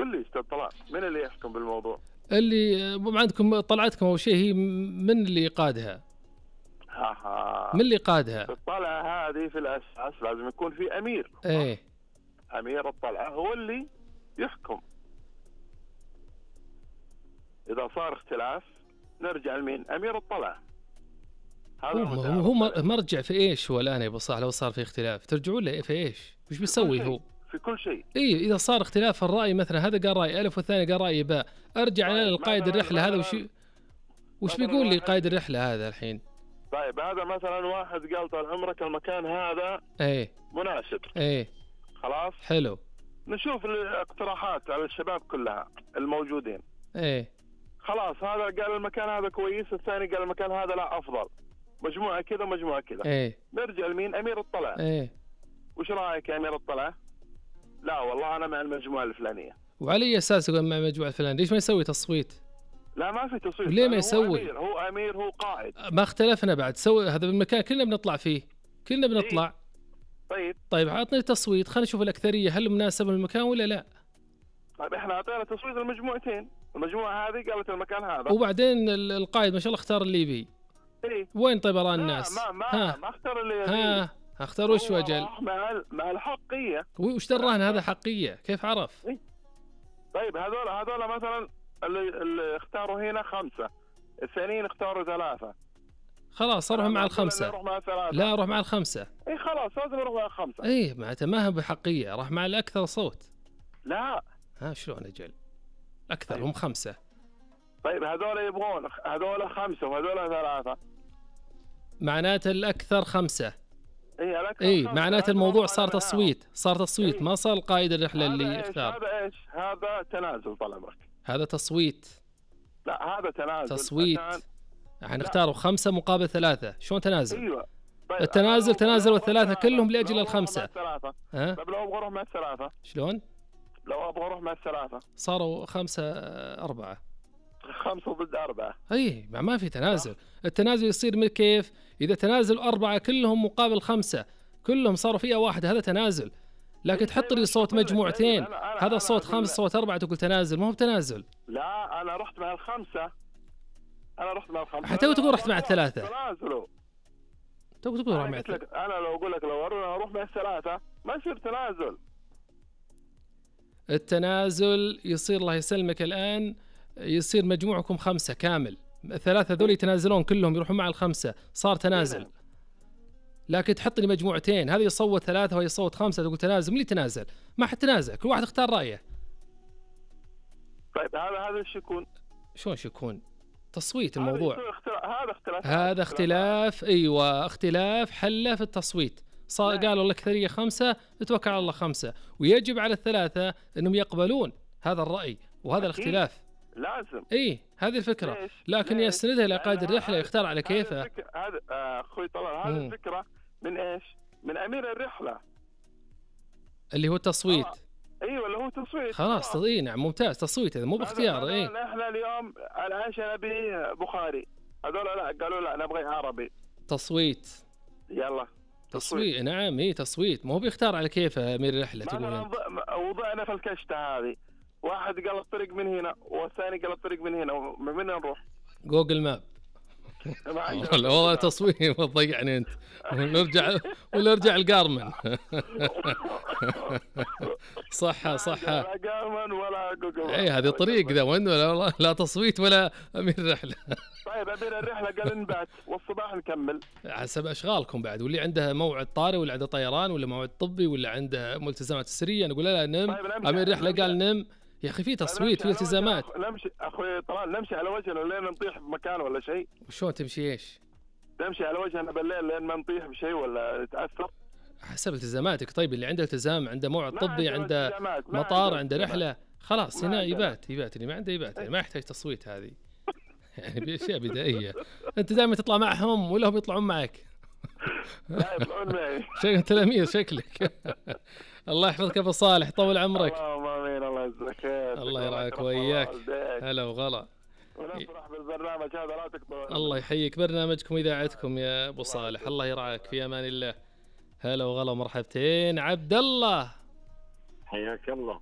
قل لي استاذ طلال، من اللي يحكم بالموضوع؟ اللي عندكم طلعتكم أول شيء هي من اللي قادها؟ من اللي قادها؟ الطلعة هذه في الأساس لازم يكون في أمير. إيه، أمير الطلعة هو اللي يحكم. إذا صار اختلاف نرجع لمين؟ أمير الطلعة. هو مرجع في إيش هو الآن يا أبو صالح؟ لو صار في اختلاف ترجعون له في إيش؟ وش بيسوي هو؟ في كل شيء. إيه، إذا صار اختلاف الرأي مثلا هذا قال رأي ألف والثاني قال رأي باء، أرجع أنا للقائد الرحلة هذا وش بيقول لي قائد الرحلة هذا الحين؟ طيب هذا مثلا واحد قال طال عمرك المكان هذا ايه مناسب. ايه خلاص حلو. نشوف الاقتراحات على الشباب كلها الموجودين. ايه خلاص هذا قال المكان هذا كويس، الثاني قال المكان هذا لا افضل، مجموعة كذا مجموعة كذا. ايه نرجع لمين؟ امير الطلعة. ايه وش رايك يا امير الطلعة؟ لا والله انا مع المجموعة الفلانية. وعلى اي اساس يقول مع المجموعة الفلانية؟ ليش ما يسوي تصويت؟ لا ما في تصويت. ليه ما يسوي؟ هو أمير هو قائد. ما اختلفنا بعد، سوي هذا بالمكان كلنا بنطلع فيه، كلنا بنطلع. طيب عطني تصويت، خلينا نشوف الأكثرية هل مناسب للمكان ولا لا. طيب احنا اعطينا تصويت المجموعتين، المجموعة هذه قالت المكان هذا، وبعدين القائد ما شاء الله اختار اللي يبي. إيه؟ وين طيب آراء الناس؟ ما اختار اللي يبي. اختار وش وجل؟ مع الحقية. وش دراهن هذا حقية؟ كيف عرف؟ إيه؟ طيب هذول مثلا اللي اختاروا هنا 5، الثانيين اختاروا 3. خلاص اروح مع ال5. لا اروح مع ال5. اي خلاص لازم اروح مع ال5. اي معناته ما هو بحقية، راح مع الأكثر صوت. لا شلون أجل؟ أكثر هم 5. طيب هذول يبغون هذول 5 وهذول 3. معناته الأكثر 5. اي الأكثر. اي معناته الموضوع صار تصويت، ما صار القائد الرحلة اللي اختار. هذا ايش؟ هذا تنازل طال عمرك. هذا تصويت. لا هذا تنازل. تصويت. يعني اختاروا 5 مقابل 3، شلون تنازل؟ ايوه. طيب التنازل تنازل ال3 كلهم لأجل ال5. طيب لو ابغى اروح مع ال3 شلون؟ لو ابغى اروح مع ال3 صاروا 5-4. 5 ضد 4. اي ما في تنازل. التنازل يصير من كيف؟ اذا تنازل 4 كلهم مقابل 5 كلهم صاروا فئة واحدة هذا تنازل. لكن تحط لي صوت مجموعتين، هذا صوت 5 صوت 4 تقول تنازل، ما هو بتنازل. لا انا رحت مع ال5. حتى تقول رحت مع ال3. تنازلوا. تقول روح مع ال3. انا لو اقول لك لو اروح مع ال3 ما يصير تنازل. التنازل يصير الله يسلمك الآن يصير مجموعكم 5 كامل، 3 ذول يتنازلون كلهم يروحون مع ال5 صار تنازل. لكن تحط لي مجموعتين، هذا يصوت 3 وهي يصوت 5 تقول تنازل. من اللي تنازل؟ ما حد تنازل، كل واحد اختار رأيه. طيب هذا ايش يكون؟ شلون ايش يكون؟ تصويت الموضوع. هذا اختلاف. ايوه اختلاف حله في التصويت. قالوا الأكثرية 5 نتوكل على الله 5، ويجب على ال3 انهم يقبلون هذا الرأي وهذا الاختلاف. لازم. هذه الفكرة. لكن يستندها إلى قائد الرحلة يختار على كيفه. هذا اخوي طلال هذه الفكرة من ايش؟ من امير الرحلة اللي هو التصويت. ايوه اللي هو تصويت. خلاص نعم ممتاز. تصويت هذا مو باختيار. احنا اليوم العيش نبي بخاري، هذول لا قالوا لا نبغي عربي. تصويت. يلا تصويت. نعم تصويت، مو بيختار على كيفه امير الرحلة. تقول وضعنا في الكشتة هذه، واحد قال الطريق من هنا والثاني قال الطريق من هنا، من وين نروح؟ جوجل ماب. والله تصوير ضيعني انت. ونرجع القارمن. صح لا قارمن ولا جوجل. هذه طريق ذا وين لا تصويت ولا امير الرحله. طيب امير الرحله قال نبات والصباح نكمل حسب اشغالكم بعد، واللي عنده موعد طارئ ولا عنده طيران ولا موعد طبي ولا عنده ملتزمات سريه نقول لا نم. امير الرحله قال نم. يا اخي في تصويت في التزامات. نمشي اخوي طلال نمشي على وجهنا لين نطيح بمكان ولا شيء. وشلون تمشي ايش؟ نمشي على وجهنا بالليل لين ما نطيح بشيء ولا نتاثر حسب التزاماتك. طيب اللي عنده التزام عنده موعد طبي عنده مطار عنده رحله خلاص هنا يبات اللي ما عنده يبات، يعني ما يحتاج تصويت. هذه يعني باشياء بدائيه. انت دائما تطلع معهم ولا هم يطلعون معك؟ لا يطلعون معي. شكلك تلاميذ شكلك. الله يحفظك ابو صالح طول عمرك. اللهم امين. الله يجزاك خير. الله يرعاك وياك. هلا وغلا. ونفرح بالبرنامج هذا لا تقطعوه. الله يحييك. برنامجكم اذاعتكم يا ابو صالح. الله يرعاك في امان الله. هلا وغلا مرحبتين. عبد الله حياك الله.